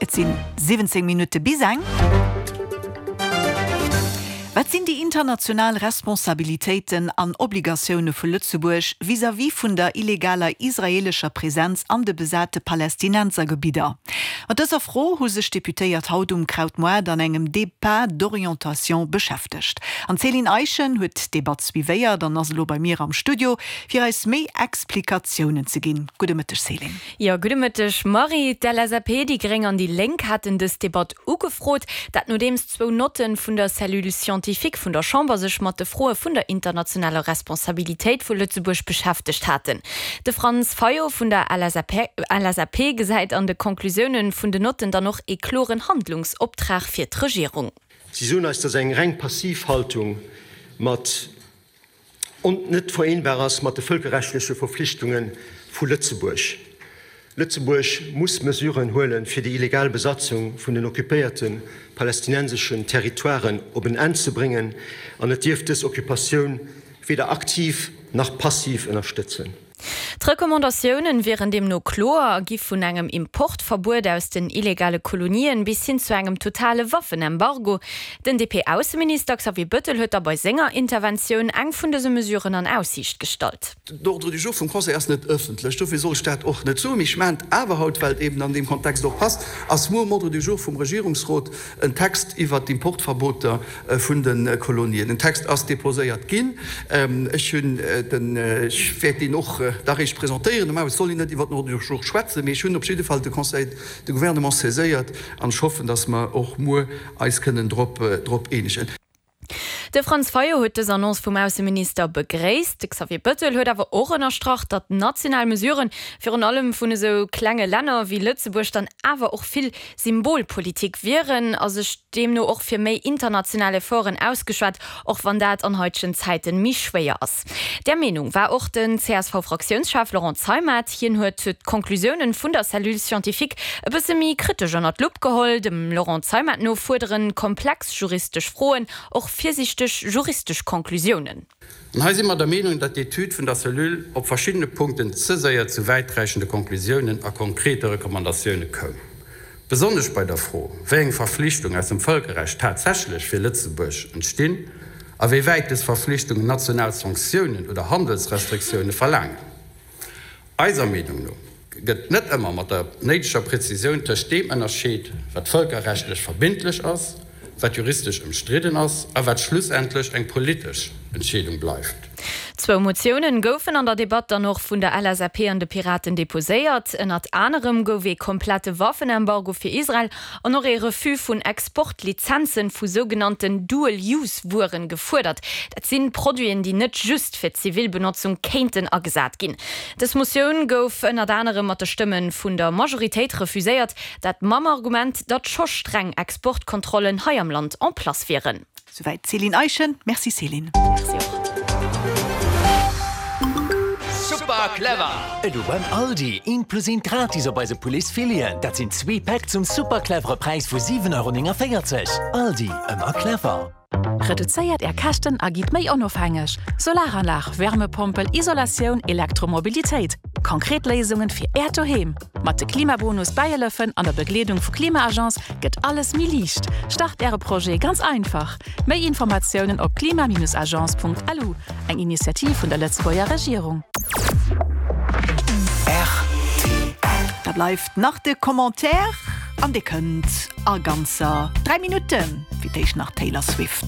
Et sinn 17 Minutte bis eng. Wat sinn déi international Responsabilitéiten an Obligatioune vu Lëtzebuerg vis-à-vis vun der illegaler israeelescher Presenz an de besate Palästinensergebidder? Mat dëser Fro hu sech d'Deputéiert haut um Krautmoart an engem Débat d'orientation beschäftegt. An d'Céline Eischen huet d'Debatt suivéiert an ass elo bei mir am Studio, fir eis méi Explikatiounen ze ginn. Gudde Mëtteg Céline. Jo, gudde Mëtteg Marie. D'LSAP, déi Gréng an déi Lénk haten dës Debatt ugefrot. Dat nodeems zwou Notten vun der Cellule scientifique vun der Chamber sech mat de Froe vun der internationaler Responsabilitéit vu Lëtzebuerg beschäftegt haten. De Franz Fayot vun der LSAP gesäit an de Conclusiounen vun den Notten dann och ee kloren Handlungsoptrag fir d'Regierung. Si soen eis, dass eng reng passiv Haltung mat ont net vereenbar ass mat de vëlkerrechtleche Verflichtunge vu Lëtzebuerg. Lëtzebuerg muss Mesuren huelen, fir déi illegal Besatzung vun den occupéierte palästinenseschen Territoiren op en Enn ze bréngen an et dierf dës Occupatioun weder aktiv nach passiv ënnerstëtzen. D'Recommandatiounen wieren deemno kloer a gi vun engem Importverbuet aus den illegale Kolonien bis hin zu engem totale Waffenembargo. Den DP-Ausseminister Xavier Bëttel huet da bei senger Interventioun eng vun dëse Mesuren an Aussiicht gestallt. D'Ordre du jour vum Conseil ass net ëffentlech, dofir soll ech dat och net soen. Mee ech maachen et awer haut, well et eben an deem Kontext och passt, ass muer um Ordre du jour vum Regierungsrot en Text iwwert d'Importverboter vun de Kolonien. Den Text ass déposéiert ginn. Ech hunn den, ech wäert deen och da réischt presentéieren. Normalerweis soll een net iwwert den Ordre du jour schwätzen, mee ech hunn op jidde Fall de Conseil de Gouvernement saiséiert an ech hoffen, dass mer och muer eis kënnen drop, drop eenegen. De Franz Fayot huet dës Annonce vum Ausseminister begréisst. De Xavier Bëttel huet awer och ënnerstrach, datt national Mesuren, virun allem vun esou klenge Länner wéi Lëtzebuerg, dann awer och vill Symbolpolitik wieren a sech deemno och fir méi international Efforten ausgeschwat, och wann dat an haitegen Zäiten méi schwéier ass. Där Meenung war och den CSV-Fraktiounschef Laurent Zeimet. Hien huet d'Conclusiounen vun der Cellule scientifique e bësse méi kritesch ënnert d'Lupp geholl. Dem Laurent Zeimet no fuerderen komplex juristesch Froen och virsiichteg juristesch Conclusiounen. An hei si mer der Meenung, datt d'Etüd vun der Cellule op verschiddene Punkten ze séier zu wäiträichende Konklusiounen a konkrete Recommandatioune koum. Besonnesch bei der Fro, wéi eng Verflichtung aus dem Vëlkerrecht tatsächlech fir Lëtzebuerg entstinn a wéi wäit dës Verflichtungen national Sanktiounen oder Handelsrestriktioune verlaangen. Eiser Meenung no gëtt net ëmmer mat der néideger Präzisioun tëscht deem ënnerscheet, wat vëlkerrechtlech verbindlech ass, wat juristesch ëmstridden ass a wat schlussendlech eng politesch Entscheedung bleift. Zwou Motiounen goufen an der Debatt dann och vun der LSAP an de Piraten deposéiert. Ënnert anerem gouf ee komplette Waffenembargo fir Israel an och ee Refus vun Exportlizenzen vu sougenannten Dual-Use-Wueren gefuerdert. Dat sinn Produiten, déi net just fir zivil Benotzung kéinten agesat ginn. Dës Motioun gouf ënnert anerem mat de Stëmme vun der Majoritéit refuséiert, dat mam Argument, datt scho streng Exportkontrollen hei am Land en place wieren. Souwäit d'Céline Eischen. Merci Céline. Merci och. Super clever! Elo beim Aldi, eent plus eent gratis op eise Poulets Fileten. Dat sinn zwee Päck zum super clevere Präis vu 7,49 Euro. Aldi, ëmmer clever. Reduzéiert Är Käschten a gitt méi onofhängeg! Solaranlag, Wärmepompel, Isolatioun, Elektromobilitéit, konkret Léisungen fir Äert Doheem. Mat de Klimabonus Bäihëllefen an der Begleedung vu Klima-Agence gëtt alles méi liicht. Start Äre Projet ganz einfach! Méi Informatiounen op klima-agence.lu, eng Initiativ vun der Lëtzebuerger Regierung. Rtl. Da bleift nach de Commentaire an dee kënnt a ganzer 3 Minutten. Fir d'éischt nach Taylor Swift.